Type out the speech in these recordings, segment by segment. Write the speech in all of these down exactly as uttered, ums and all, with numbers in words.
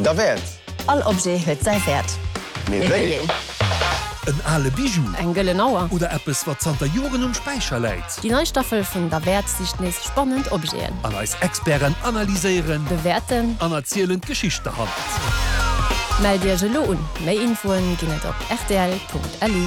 Derwäert. All Objet huet säi Wäert. Mee wéi een? En ale Bijou. Eng gëllen Auer. Oder eppes, wat zanter Joren um Späicher läit. Déi nei Staffel vun Derwäert sicht nees spannend Objeten. An eis Experten analyséieren. Bewäerten. An erzielen d'Geschicht derhannert. Mellt Iech elo un, méi Infoen ginn et op rtl.lu.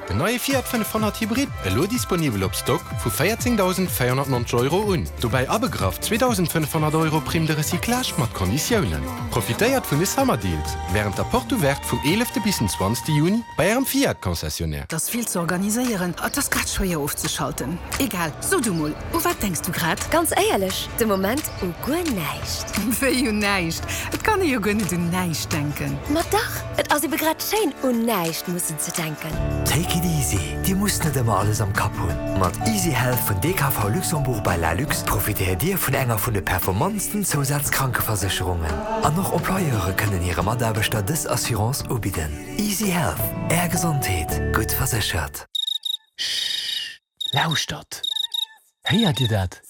Den neie Fiat fënnefhonnert Hybrid, elo disponibel op Stock vu véierzéngdausendvéierhonnertnonzeg Euro un. Dobäi abegraff zweedausendfënnefhonnert Euro Prime de recyclage mat Konditiounen. Profitéiert vun de Summer Deals wärend der Porte Ouverte vum eelefte bis den zwanzegste Juni bei ärem Fiat Concessionnaire. 't ass vill ze organiséieren, et ass grad schwéier ofzeschalten. Egal, so du mol, u wat denks du grad? Ganz éierlech, de Moment u guer näischt. Wéi un näischt? Et kann ee jo guer net un näischt denken. Ma dach, et ass ebe grad schéin, un näischt mussen ze denken. Take it easy, Dir musst net ëmmer alles am Kapp hunn. Mat Easy Health vun D K V Luxembourg by Lalux profitéiert Dir vun enger vun de performantsten Zousazkrankeversécherungen. An och Employeure kënnen hire Mataarbechter dës Assurance ubidden. Easy Health, Är Gesondheet, gutt verséchert. Lauschtert! Héiert Dir dat?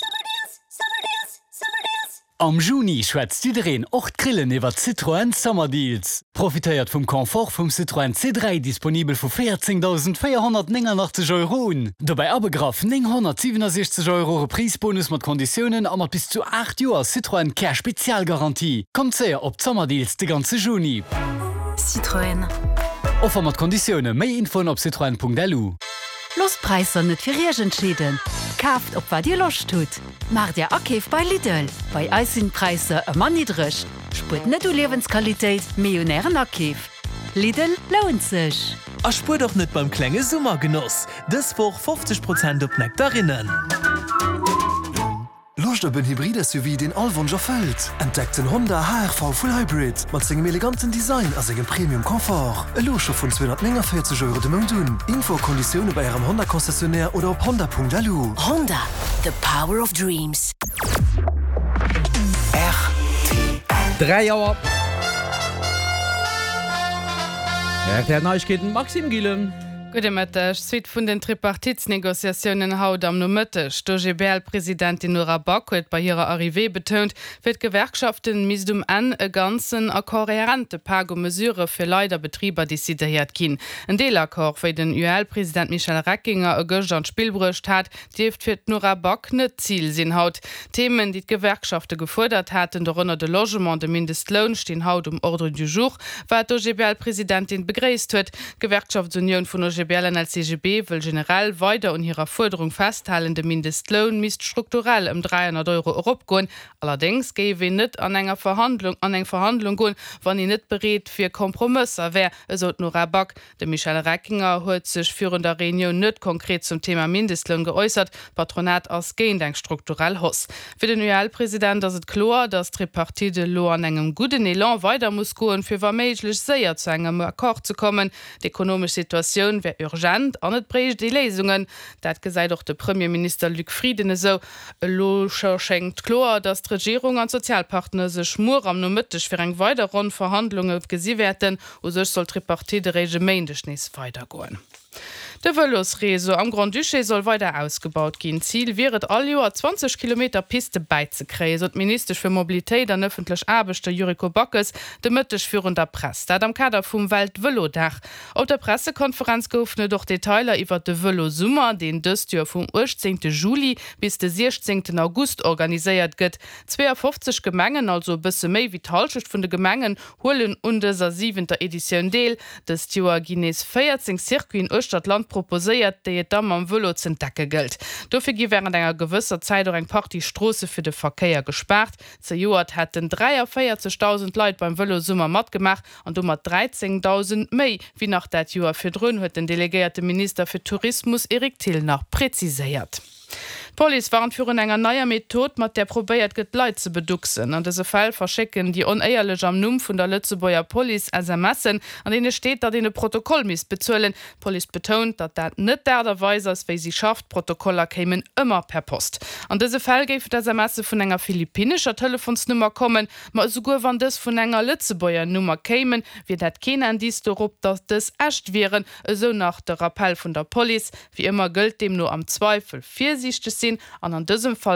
Am Juni schwätzt jiddereen, och d'Grillen, iwwer Citroën Summer Deals. Profitéiert vum Confort vum Citroën C dräi, disponibel vu véierzéngdausendvéierhonnertnénganachtzeg Euro un. Dobäi abegraff nénghonnertsiwenusechzeg Euro Reprise-Bonus mat Konditiounen a mat bis zu aacht Joer Citroën Care Spezialgarantie. Kommt séier op d'Summer Deals de ganze Juni. Citroën. Offer mat Konditioune, méi Infoen op citroen Punkt L U. Loosst d'Präisser net fir Iech entscheeden. Kaaft op wat Dir Loscht hutt. Maacht Är Akeef bei Lidl. Bei eis sinn d'Präisser ëmmer niddreg. Spuert net u Liewensqualitéit, mee un ären Akeef. Lidl lount sech. A spuert och net beim klenge Summergenoss. Dës Woch fofzeg Prozent op Nektarinnen. Loscht op en Hybrid-S U V, deen all Wonsch erfëllt? Entdeckt den Honda H R V Full Hybrid mat sengem eleganten Design a sengem Premium Confort. Elo scho vun zweehonnertnénganvéierzeg Euro de Mount un. Info a Konditioune bei ärem Honda Concessionnaire oder op honda Punkt L U. Honda, the power of dreams. Dräi Auer. R T L Neiegkeeten, Maxime Gillen. Gudde Mëtteg. Suite vun den Tripartitsnegociatiounen haut am Nomëtteg. D'O G B L-Presidentin Nora Back huet bei hirer Arrivée betount, fir d'Gewerkschaften misst um Enn e ganzen a kohärente Pak u Mesurë fir Leit a Betriber decidéiert ginn. En Deelaccord, wéi den U E L-President Michel Reckinger e gëschter an d'Spill bruecht hat, dierft fir d'Nora Back net d'Zil sinn haut. Themen, déi d'Gewerkschafte gefuerdert haten, dorënner de Logement, de Mindestloun, stinn haut um Ordre du jour, wat d'O G B L-Presidentin begréisst huet. D'Gewerkschaftsunioun vun O G B L an L C G B wëll generell weider un hirer Fuerderung festhalen, de Mindestloun misst strukturell ëm dräihonnert Euro eropgoen. Allerdéngs géif een net an enger Verhandlung an eng Verhandlung goen, wann een net bereet fir Kompromësser wär, esou d'Nora Back. De Michel Reckinger huet sech virun der Reunioun net konkret zum Thema Mindestloun geäussert. D'Patronat ass géint eng strukturell Hausse. Fir den U E L-President ass et kloer, datt d'Tripartite elo an engem gudden Elan weider muss goen, fir wa méiglech séier zu engem Accord ze kommen. D'ekonomesch Situatioun wär urgent an et bréicht ee Léisungen. Dat gesäit och de Premierminister Luc Frieden esou. Elo scho schéngt kloer, datt d'Regierung an d'Sozialpartner sech muer am Nomëtteg fir eng weider Ronn Verhandlunge gesi wäerten. U sech soll d'Tripartite eréischt e Méindeg nees weidergoen. De Vëlosreseau am Grand-Duché soll weider ausgebaut ginn. Zil wier et, all Joer zwanzeg Kilometer Piste bäizekréien, sot d'Ministesch fir Mobilitéit an ëffentlech Aarbechte Yuriko Backes de Mëtteg virun der Press. Dat am Kader vum Weltvëlodag. Op der Pressekonferenz goufen et och Detailer iwwer de Vëlosummer, deen dëst Joer vum uechtzéngte Juli bis de siechzéngten August organiséiert gëtt. Zweeafofzeg Gemengen, also e bësse méi wéi d'Hallschecht vun de Gemengen, huelen un dëser siwenter Editioun deel. Dëst Joer ginn nees véierzéng Circuiten uechter d'Land proposéiert, déi et da mam Vëlo z'entdecke gëllt. Dofir gi wärend enger gewësser Zäit och eng Partie Stroosse fir de Verkéier gespaart. Zejoert hätten dräiavéierzegdausend Leit beim Vëlosummer matgemaach an domat dräizéngdausend méi wéi nach dat Joer virdrun, huet den delegéierte Minister fir Tourismus Eric Thill nach präziséiert. D'Police warnt virun enger neier Method, mat där probéiert gëtt, Leit ze beducksen. An dëse Fäll verschécken déi Onéierlech am Numm vun der Lëtzebuerger Police S M Sen, an deene steet, datt een e Protokoll misst bezuelen. D'Police betount, datt dat net d'Aart a Weis ass, wéi si schafft. D'Protokoller kéimen ëmmer per Post. An dëse Fäll géifen d'S M Se vun enger philippinnescher Telefonsnummer kommen, ma esouguer wann dës vun enger Lëtzebuerger Nummer kéimen, wier dat keen Indiz dorop, datt dës echt wieren, esou nach de Rappell vun der Police. Wéi ëmmer gëllt deemno: am Zweifel virsiichteg sinn an an dësem Fall